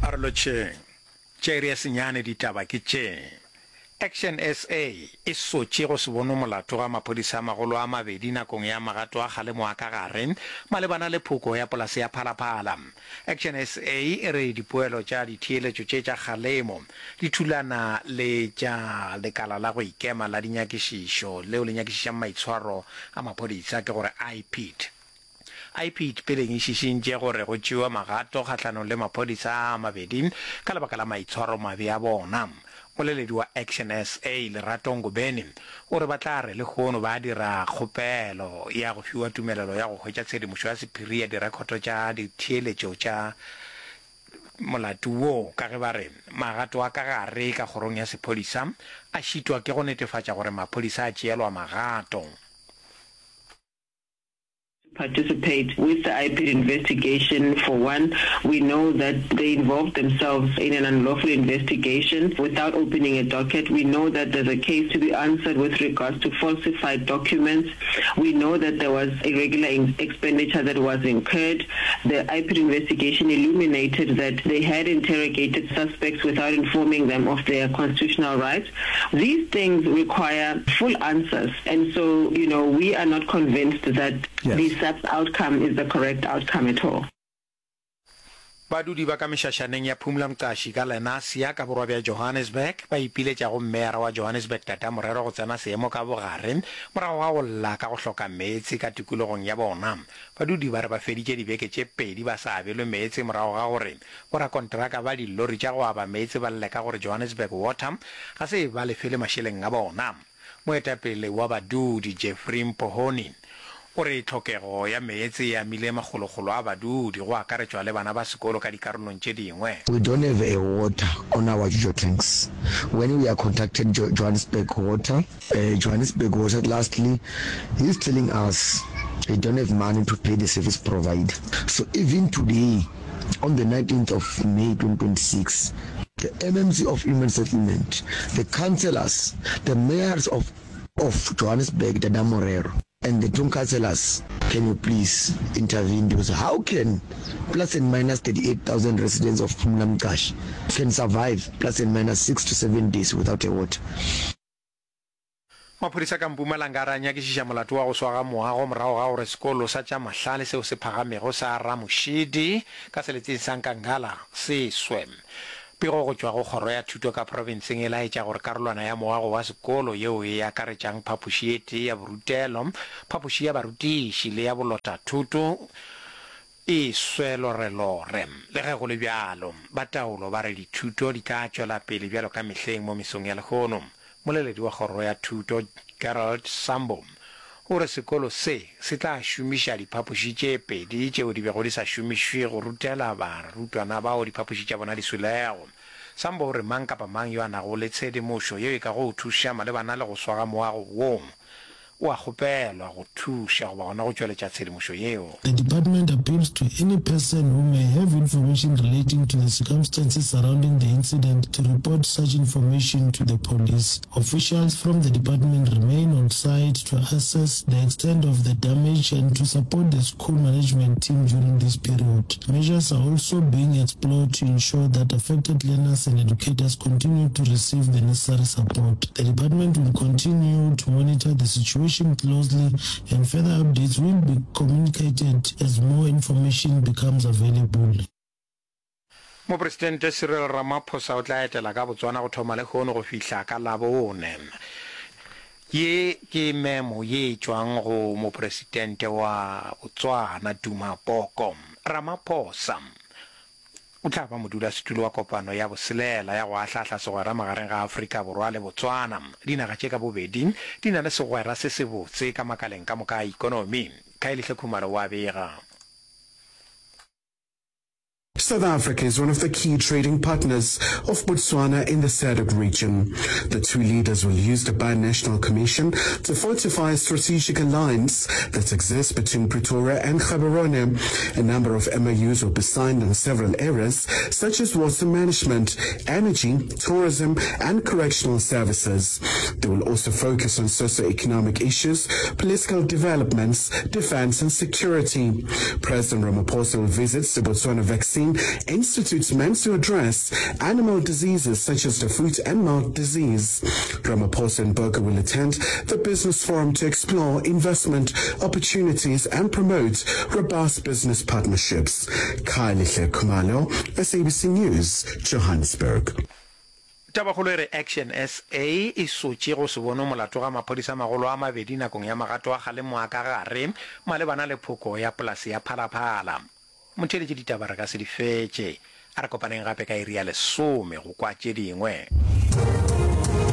A re lotšheng. Tša iri ya senyane ditaba ke tše. Action SA e sotše go se bonwe molato ga maphodisa a magolo a mabedi nakong ya magato a kgalemo a ka gare malebana le phoko ya polase ya Phalaphala. Action SA e re dipoelo tša ditheeletšo tše tša kgalemo di thulana le tša lekala la go ikema la dinyakišišo leo le nyakišišang maitshwaro a maphodisa, ke gore IPID. IPID peleng e šišintše gore go tšewe magato kgahlanong le maphodisa a a mabedi ka lebaka la maitshwaromabe a bona. Moleledi wa Action SA, Lerato Ngobeni, o re ba tla re lehono ba dira kgopelo ya go fiwa tumelelo ya go hwetša tshedimošo ya sephiri ya direkhoto tša ditheeletšo tša molato wo ka ge ba re magato a ka gare ka kgorong ya sephodisa a šitwa ke go netefatša gore maphodisa a tšeelwa magato. Participate with the IPID investigation. For one, we know that they involved themselves in an unlawful investigation without opening a docket. We know that there's a case to be answered with regards to falsified documents. We know that there was irregular expenditure that was incurred. The IPID investigation illuminated that they had interrogated suspects without informing them of their constitutional rights. These things require full answers and so, you know, we are not convinced that yes. the SAPS outcome is the correct outcome at all. Badudi ba ka mešašaneng ya Phumla Mqashi ka Lenasia ka borwa bja Johannesburg ba ipiletša go Meyara wa Johannesburg Tata Morero go tsena seemo ka bogare morago ga go lla ka go hloka meetse ka tikologong ya bona. Badudi ba re ba feditše dibeke tše pedi ba sa abelwe meetse morago ga gore Borakonteraka ba dillori tša go aba meetse ba lle ka gore Johannesburg Water ga se e ba lefele mašeleng a bona. Moetapele wa badudi Jeffrey Mpohoni o re tlhokego ya meetse e amile makgolokgolo a badudi go akaretšwa le bana ba sekolo ka dikarolong tše dingwe. We don't have a water on our jojo tanks when we are contacted Johannesburg Water Johannesburg Water lastly he is telling us he don't have money to pay the service provider so even today on the 19th of May 2026, the MMC of Human Settlement, the councillors, the mayors of of Johannesburg, Dada Morero, and the two councillors, can you please intervene because how can plus and minus 38,000 residents of Phumla Mqashi can survive plus and minus 6 to 7 days without a water? Maphodisa ka Mpumalanga a re a nyakišiša molato wa go swa ga moago morago ga gore sekolo sa tša mahlale seo se phagamego sa Ramoshidi ka seleteng sa Nkangala se swe. Pego go tšwa go kgoro ya thuto ka profenseng e laetša gore karolwana ya moago wa sekolo yeo e akaretšang phapoši e tee ya borutelo, phapoši ya barutiši le ya bolotathoto e swe lorelore. Le ge go le bjalo, ba taolo ba re dithuto di tla tšwela pele bjalo ka mehleng mo mesong ya lehono. Moleledi wa kgoro ya thuto, Gerald Sambo, o re sekolo se se tla šomiša diphapoši tše pedi tšeo di bego di sa šomišwe go rutela barutwana bao diphapoši tša bona di swilego. Sambo o re mang kapa mang yo a nago le tshedimošo yeo e kago thuša malebana le go swa ga moago wo, o a kgopelwa go thuša goba gona go tšweletša tshedimošo yeo. The department appeals to any person who may have information relating to the circumstances surrounding the incident to report such information to the police. Officials from the department remain on site to assess the extent of the damage and to support the school management team during this period. Measures are also being explored to ensure that affected learners and educators continue to receive the necessary support. The department will continue to monitor the situation closely and further updates will be communicated as more information becomes available. Mopresidente Cyril Ramaphosa o tla etela ka Botswana go thoma lehono go fihla ka Labone. Ye ke memo ye e tšwang go Mopresidente wa Botswana Duma Boko. Ramaphosa o tla ba modulasetulo wa kopano ya boselela ya go ahlaahla segwera magareng ga Afrika Borwa le Botswana. Dinaga tše ka bobedi di na le segwera se sebotse ka makaleng ka moka a ikonomi. Khayelihle Khumalo o a bega. South Africa is one of the key trading partners of Botswana in the SADC region. The two leaders will use the Binational Commission to fortify a strategic alliance that exists between Pretoria and Gaborone. A number of MOUs will be signed in several areas, such as water management, energy, tourism, and correctional services. They will also focus on socio-economic issues, political developments, defense and security. President Ramaphosa will visit the Botswana Vaccine Innovation Institute meant to address animal diseases such as the foot and mouth disease. Ramaphosa and Boko will attend the business forum to explore investment opportunities and promote robust business partnerships. Khayelihle Khumalo, SABC News, Johannesburg. Tabakgolo e re Action SA e sotše go se bonwe molato ga maphodisa magolo a mabedi nakong ya magato a kgalemo a ka gare malebana le phoko ya polase ya Phalaphala. Motheeletši ditaba re ka se di fetše. A re kopaneng gape ka iri ya lesome go kwa tše dingwe.